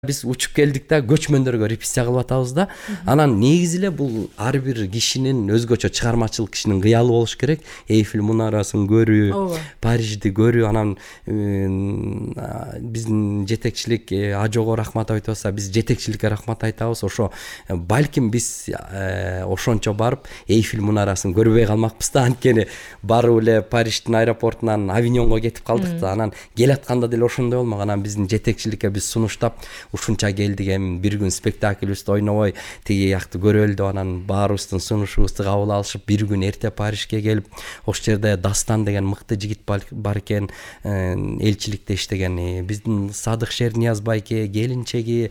Биз учуп келдик да көчмөндөргө репетиция кылып атабыз да. Анан негизи эле бул ар бир кишинин өзгөчө чыгармачылык кишинин кыялы болуш керек. Эйфель мунарасын көрүү, Парижди көрүү. Анан биздин жетекчилик Ажого рахмат айтып атса, биз жетекчиликке рахмат айтабыз. Ошо балким биз ошончо барып Эйфель мунарасын көрбөй калмакпыз да. Анткени барып эле Париждин аэропортунан Авиньонго кетип калдык да. Анан келатканда деле ошондой болмок. Анан биздин жетекчиликке биз сунуштап ушунча келдик, эми бир күн спектакльбизди ойнобой тиги жакты көрөлү деп анан баарыбыздын сунушубузду кабыл алышып, бир күн эрте Парижге келип, ошол жерде Дастан деген мыкты жигит бар экен, элчиликте иштеген. Биздин Садык Шернияз байке, келинчеги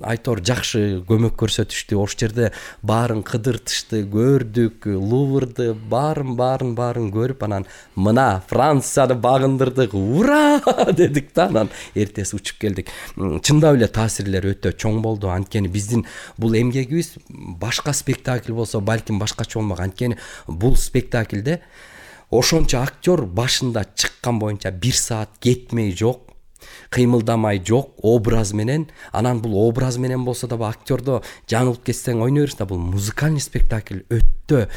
айтор жакшы көмөк көрсөтүштү. Ошол жерде баарын кыдыртышты, көрдүк, Луврды, баарын көрүп, анан мына Францияны багындырдык, ура дедик да. Анан эртеси учуп келдик. Чындап эле таасирлер өтө чоң болду. Анткени биздин бул эмгегибиз башка спектакль болсо балким башкача болмок. Анткени бул спектакльде ошончо актер башында чыккан боюнча 1 саат кетмей жок, кыймылдамай жок, образ менен. Анан бул образ менен болсо да актердо жаңылып кетсең ойной берсиң да. Бул музыкальный спектакль өтө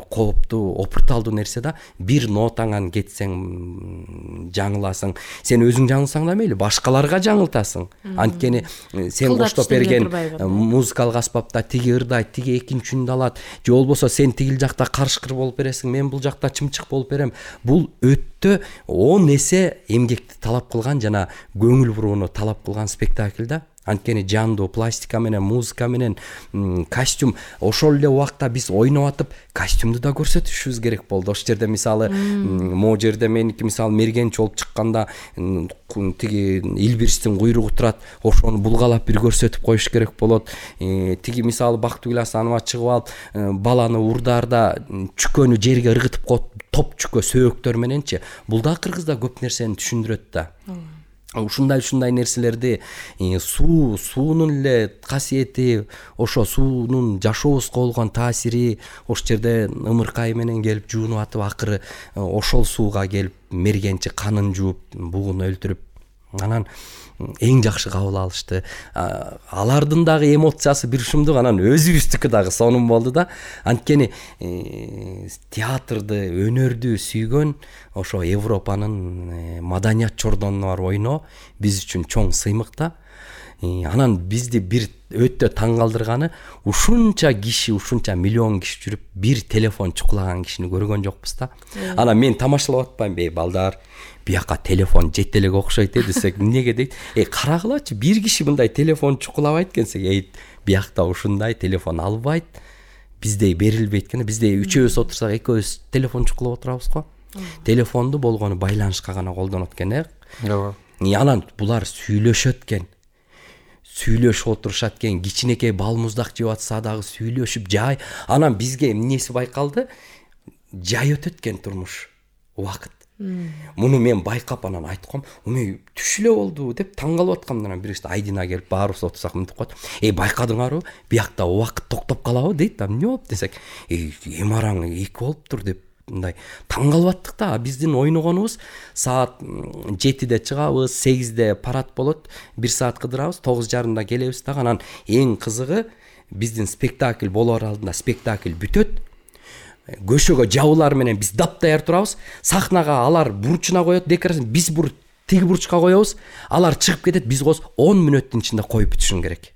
кооптуу, опурталдуу нерсе да. Бир нотаңан кетсең жаңыласың. Сен өзүң жаңылсаң да мейли, башкаларга жаңылтасың. Анткени сен коштоп берген музыкалык аспапта тиги ырдайт, тиги экинчи үнүндө алат. Же болбосо сен тигил жакта карышкыр болуп бересиң, мен бул жакта чымчык болуп берем. Бул өтө 10 эсе эмгекти талап кылган жана көңүл бурууну талап кылган спектакль да. Анткени жандуу пластика менен, музыка менен, костюм. Ошол эле убакта биз ойноп атып, костюмду да көрсөтүшүбүз керек болду. Ошол жерде мисалы могу жерде меники мисалы мергенчи болуп чыкканда тиги Илбирстин куйругу турат, ошону булгалап бир көрсөтүп коюш керек болот. Тиги мисалы Бактыгүл Асанова чыгып алып, баланы урдаарда чүкөнү жерге ыргытып коюп, топ чүкө сөөктөр мененчи. Бул да кыргызда көп нерсени түшүндүрөт да. Ушундай нерселерди суунун эле касиети, ошо суунун жашообузга болгон таасири, ошол жерде ымыркай менен келип жуунуп атып, акыры ошол сууга келип мергенчи канын жууп, бугун өлтүрүп, анан эң жакшы кабыл алышты. Алардын дагы эмоциясы бир ушундук, анан өзүбүздүкү дагы сонун болду да. Анткени театрды, өнөрдү сүйгөн ошо Европанын маданият чордонуна барып ойноо биз үчүн чоң сыймык да. Анан бизди бир өтө таң калтырганы, ушунча киши, ушунча миллион киши жүрүп, бир телефон чукулаган кишини көргөн жокпуз да. Анан мен тамашалап атпайм, балдар, бияка телефон жете элек окшойт десек, эмнеге дейт? Карагылачы, бир киши мындай телефон чукулабайт экенсек, биякта ушундай телефон албайт, биздей берилбейт экен. Бизде үчөөбүз отурсак, экөөбүз телефон чукулап отурабыз го. Телефонду болгону байланышка гана колдонот экен, Ооба. Анан булар сүйлөшөт экен. Сүйлөшүп отурушат экен, кичинекей бал муздак жеп атса дагы сүйлөшүп, жай. Анан бизге эмнеси байкалды? Жай өтөт экен турмуш, убакыт. Муну мен байкап анан айткам, "Уме түш эле болду" деп таң калып аткам. Анан бирisi Айдина келип баарыбыз отурсак мынтип коет. Байкадыңарбы? Биякта убакыт токтоп калабы дейт. Эмне болуп десек, "Эмараң 2 болуптур" деп мындай таң калып аттык да. Биздин ойногонубуз саат 7-де чыгабыз, 8-де парад болот, 1 саат кыдырабыз, 9:30 келебиз да. Анан эң кызыгы, биздин спектакль болоор алдында спектакль бүтөт. Көшөгө жабылар менен биз даптаяр турабыз. Сахнага алар бурчуна коет декорацияны, биз тиги бурчка коебуз. Алар чыгып кетет, биз 10 мүнөттүн ичинде коюп бүтүшүң керек.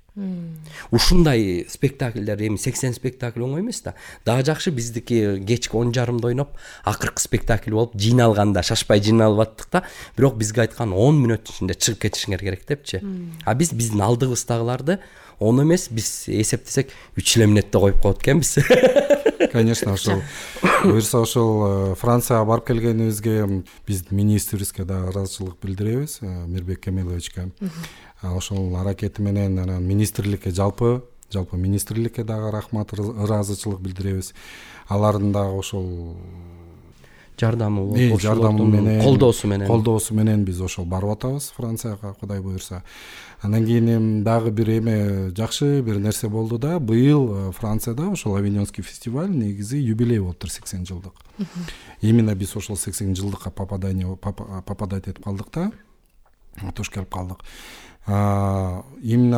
Ушундай спектакльдер, эми 80 спектакль оңой эмес да. Дагы жакшы биздики кечки 10:30 ойноп, акыркы спектакль болуп, жыйналганда шашпай жыйналып аттык да. Бирок бизге айткан 10 мүнөттүн ичинде чыгып кетишиңер керек депчи. Биз биздин алдыгыбыздагыларды оны эмес, биз эсептесек 3 эле мүнөттө коюп коет экенбиз. Конечно, ошол буюрса ошол Францияга барып келгенибизге биз министрибизге да ыраазычылык билдиребиз, Мирбек Кемеловичке. Ошол аракети менен анан министрликке жалпы министрликке дагы рахмат, ыраазычылык билдиребиз. Алардын дагы ошол жардамы менен, колдоосу менен биз ошол барып атабыз Францияга, Кудай буюрса. Андан кийин дагы бир жакшы бир нерсе болду да. Быйыл Францияда ошол Авиньонский фестиваль негизи юбилей болуптур, 80 жылдык. Именно биз ошол 80 жылдыкка попадать этип калдык да. туш келип калдык. Именно